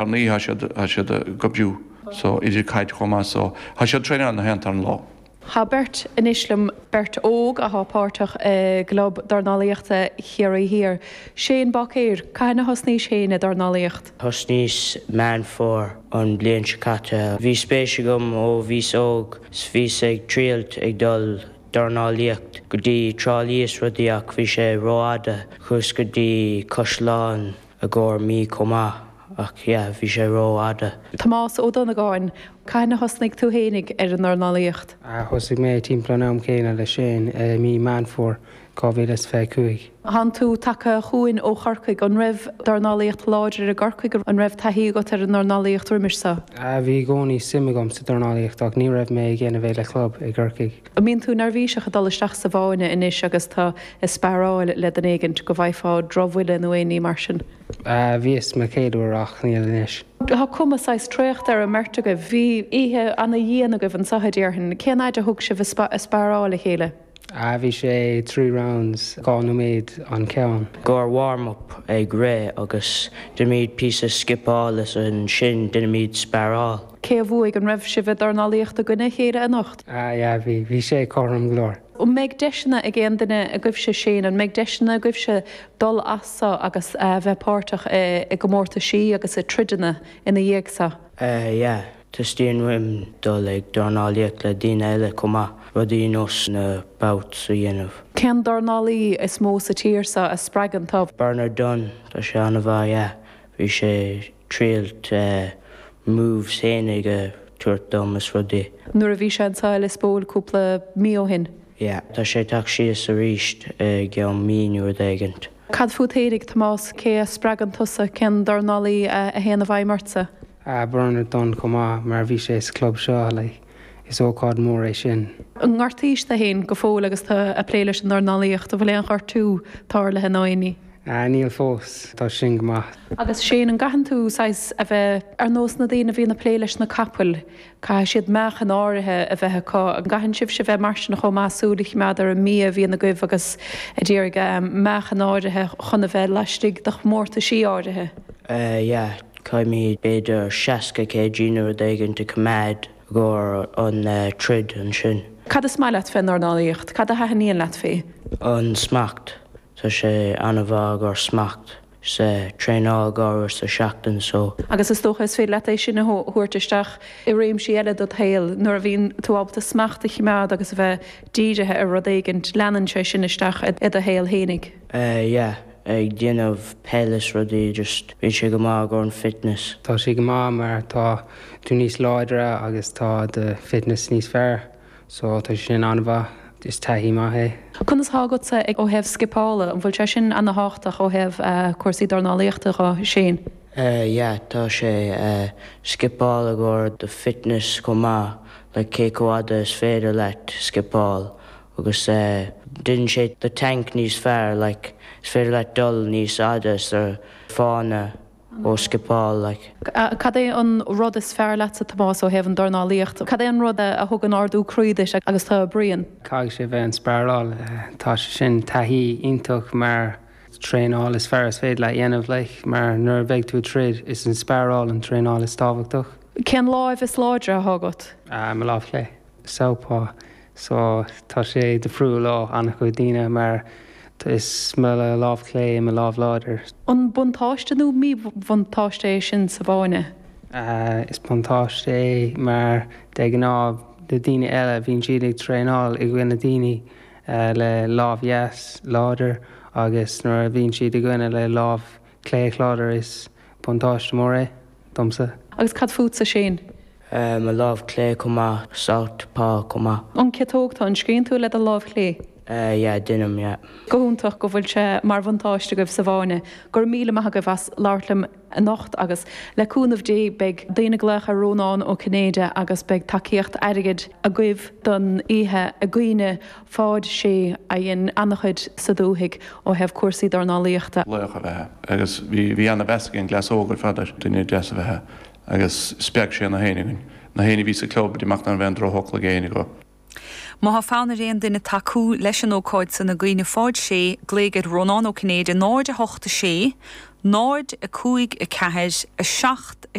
Ar ndóigh tá siad, tá siad ag oibriú so idir caid chomh maith so tá siad traenáil na haon tarna lá. Tá beirt anois liom, beirt óg athá páirteach i gClub Dornálaíochta Chiarraí Thiar. Shane Báicéir, cathain a thosnaís féin ag dornálaíocht? Thosnaíos Meán Fómhair an bliain seo caite. Bhí spéis agam ó bhíos óg 's bhíos ag triailt ag dul dornálaíocht go dtí Trá Lí is rudaí ach bhí sé rófhada. Chuas go dtí Caisleán i gcomhair mí chomh maith ach yeah bhí sé rófhada. Tomás Ó Donnagáin, Cathain a thosnaigh tú fhéinig ar an ndornálaíocht? Thosaigh mé timpeall an am céanna le Shane, i mí Meán Fómhair 2025. Thánn tú tagtha chugainn ó Chorcaigh, an raibh dornálaíocht láidir i gCorcaigh, an raibh taithí agat ar an ndornálaíocht roimis so? Bhí i gcónaí suim agam sa dornálaíocht ach ní raibh mé ag déanamh é le club i gCorcaigh. An mbíonn tú neirbhíseach ag dul isteach sa bhfáinne anois agus tú ag spearáil le duine éigint, go bhfaighfeá drochbhuille nó aon ní mar sin? Bhíos mo chéad uair ach níl anois. Tá cuma saghas traochta ar an mbeirt agaibh. Bhí oíche ana-dhian agaibh anseo, a déarfainn. Cén fhaid a thug sibh ag spearáil a chéile? Bhí sé 3 rounds, 2 nóiméad an ceann. Gcomhair warm up ag rith agus deinimid píosa scipeáil is ansin deinimid spearáil. Cé a bhuaigh? An raibh sibh ag dornálaíocht i gcoinne a chéile anocht? Yeah, bhí. Bhí sé cothrom go leor. An mbeidh deiseanna ag aon duine agaibhse, Shane, an mbeidh deiseanna agaibhse dul as so agus a bheith páirteach i gcomórtaisí agus i troideanna ina dhiaidh so? Yeah, teastaíonn uaim dul ag dornálaíocht le daoine eile chomh maith, rudaí nós na bouts a dhéanamh. Cén dornálaí is mó sa tír so a spreagann tú? Bernard Dunne, tá sé an-mhaith, yeah, bhí sé triailt moves fhéinig a tabhairt dom is rudaí. Nuair a bhí sé anseo i Lios Póil cúpla mí ó shin. Yeah, tá sé ag teacht síos arís i gceann mí nó rud éigint. Cad fút fhéinig, Tomás, cé a spreagann tusa, cén dornálaí a théann i bhfeidhm ortsa? Bernard Dunne chomh maith mar bhí sé sa club seo, like, is ócáid mór é sin. An ngortaís tú fhéin go fóill agus tú ag plé leis an ndornálaíocht? An bhfuil aon ghortú tarlaithe nó aon ní? Níl fós, tá sin go maith. Agus Shane, an gcaitheann tú saghas a bheith ar nós na daoine a bhíonn ag plé leis na capaill, caithfidh siad meáchan áirithe a bheith acu, an gcaitheann sibhse bheith mar sin chomh maith, súil a choimeád ar an mbia a bhíonn agaibh agus a d'iarraidh meáchan áirithe chun a bheith laistigh de chomórtaisí áirithe? Yeah, caithfimid b'fhéidir 60 kg nó rud éigint a choimeád i gcomhair an troid ansin. Cad is maith leat fén ndornálaíocht? Cad a thaitníonn leat fé? An smacht. Tá sé an-mhaith i gcomhair smacht 's traenáil dhá uair sa seachtain so. Agus is dócha is féidir leat é sin a thabhairt isteach i réimsí eile dod shaol. Nuair a bhíonn tú ábalta smacht a choimeád agus a bheith dírithe ar rud éigint, leanann sé sin isteach i do shaol fhéinig. Yeah, ag déanamh peil is rudaí just bíonn sé go maith i gcomhair an fitness. Tá sé go maith mar tá tú níos láidre agus tá do fitness níos fearr. So tá sé sin an-mhaith, is taithí maith é. Conas thá agatsa ó thaobh scipeála, an bhfuil sé sin ana-thábhachtach ó thaobh cúrsaí dornálaíochta dho, Shane? Yeah, tá sé, scipeáil i gcomhair do fitness chomh maith, like cé chomh fhada is féidir leat scipeáil agus déanann sé do tank níos fearr, like is féidir leat dul níos fhada sa fáinne. ó scipeáil like. Cad é an rud is fearr leatsa, Tomás, ó thaobh an dornálaíocht? Cad é an rud a thugann ardú croí duit agus tú ag bruíon? Caithfidh sé bheith an sparáil. Tá sé sin taithí iontach mar traenáil is fearr is féidir leat dhéanamh like mar nuair a bheidh tú ag troid is an sparáil an traenáil is tábhachtach. Cén láimh is láidre atá agat? Mo lámh chlé. Southpaw so tá sé difriúil ó an-chuid daoine mar is mo lámh chlé mo lámh láidir. An buntáiste nó míbhuntáiste é sin sa bhfáinne? Is buntáiste é mar de ghnáth na daoine eile bhíonn siad ag traenáil i gcoinne daoine le lámh dheas láidir agus nuair a bhíonn siad i gcoinne le lámh clé láidir is buntáiste mór é domsa. Agus cad fútsa Shane? Mo lámh clé chomh maith, southpaw chomh maith. An ciotóg tú, an scríonn tú le do lámh chlé? Yeah, deinim, yeah. Go hiontach go bhfuil sé mar bhuntáiste agaibh sa bhfáinne. Go raibh míle maith agaibh as labhairt liom anocht agus le cúnamh Dé beidh daoine ag glaoch ar Rónán Ó Cinnéide agus beidh tacaíocht airgid agaibh don oíche i gcuimhne Pháid Sé a dhein an-chuid sa dúthaigh ó thaobh cúrsaí dornálaíochta. Laoch ab ea é agus bhí ana-mheas ag an gcleas óg ar fad air. Duine deas ab ea é agus spreag sé na héinne againn, na héinne a bhí sa club, amach ná raibh aon drochfhocal ag éinne acu. Má thá fonn ar aon duine tacú leis an ócáid san i gcuimhne Pháid Sé, glaoigh ar Rónán Ó Cinnéide 0 8 6. 0, 5, 4, 7.